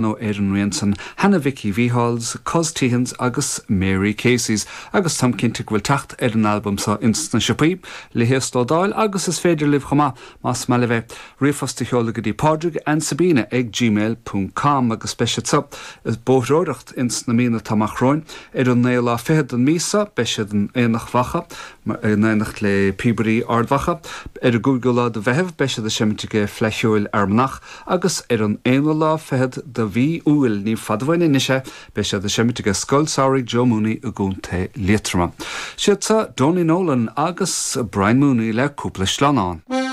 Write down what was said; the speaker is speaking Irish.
Nó ar an rian san, Hannah Mhicí Mhícheáil's, Cos Teahans agus Mary Casey's, agus táim cinnte go bhfuil teacht ar an albam so ins na siopaí, le híoslódáil, agus is féidir libh chomh maith, más maith libh é, ríomhphost a sheoladh go dtí Pádraig and Sabina ag gmail ponc com agus beidh siad so ag bóithreoireacht ins na míonna atá amach romhainn. Ar an naoú lá fichead den mhí so, beidh siad in Aonach Mhacha, in éineacht le Píobairí Ard Mhacha. Ar an gcúigiú lá de Mheitheamh, beidh siad ag seimint ag Fleadh Cheoil Fhear Manach, Agus ar an aonú lá fichead de mhí Iúil, ní fada uainn anois é, beidh siad ag seimint aige Scoil Samhraidh Joe Mooney i gContae Liatroma. Siad seo Donie Nolan agus Brian Mooney le cúpla sleamhnán.